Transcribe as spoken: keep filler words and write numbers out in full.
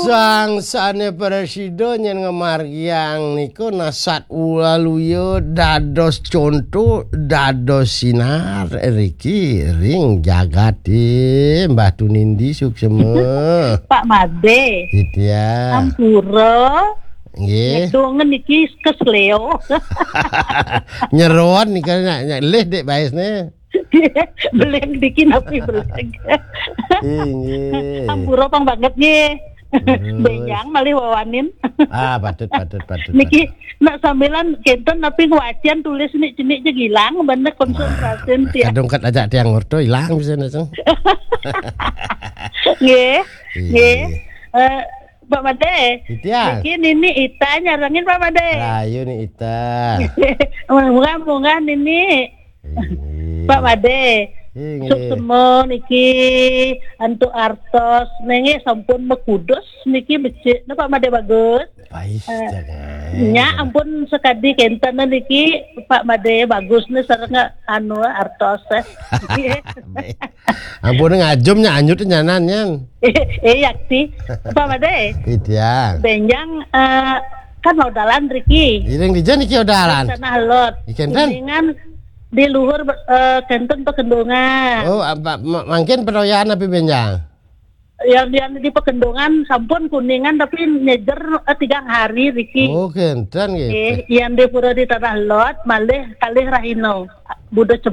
Sang sane prasida nyen ngamargiang nika nasat ulaluya dados conto, dados sinar riki ring jagate. Mbah Tunindi suksema. Pak Made. Titiang. Ampura. Nggih. Ngedung niki kesleo. Nyeron nika nyak, nyak lih dik baisne. Beleng diki napi beleng. Inggih. Ampura pang banget nggih. Terus. Benjang malih wawanin. Ah, patut, patut, patut, Niki patut. Nak sambilan kenten napi ngwacian tulis nik cenik je gilang bener konsentrasi nih ya. Kadung kat ajak tiang ngurtu ilang bisa nak, Ceng. Nggih. Iya, nggih. Iya. Eh, Pak Made. Titiang. Niki Nini Ita nyarengin Pak Made. Rayu ni Ita. Munggah-munggah Nini. Inggih. Pak Made. Inggih. Suksema niki antuk artos nengge sampun mekudus niki becik ne Pak Made bagus. Pais. Eh, jangan. Nya ampun sekadi kenten niki Pak Made bagus ne sareng anu artos eh. Baik. Ampun ngajum nya anyut nyanan nyan. Eh, eh, yakti. Pak Made. Titiang. Benjang eh, kan odalan riki. Iring dija niki odalan. Tanah Lot. Ikan tan. Kuningan di luhur eh, kenten pekendungan. Oh, apa, ma- mangkin peroyan api benjang? Yang, yang di pekendungan sampun kuningan tapi nyejer eh, tigang hari riki. Oh, kenten gitu. Eh, yang di pura di Tanah Lot malih kalih rahino. Buda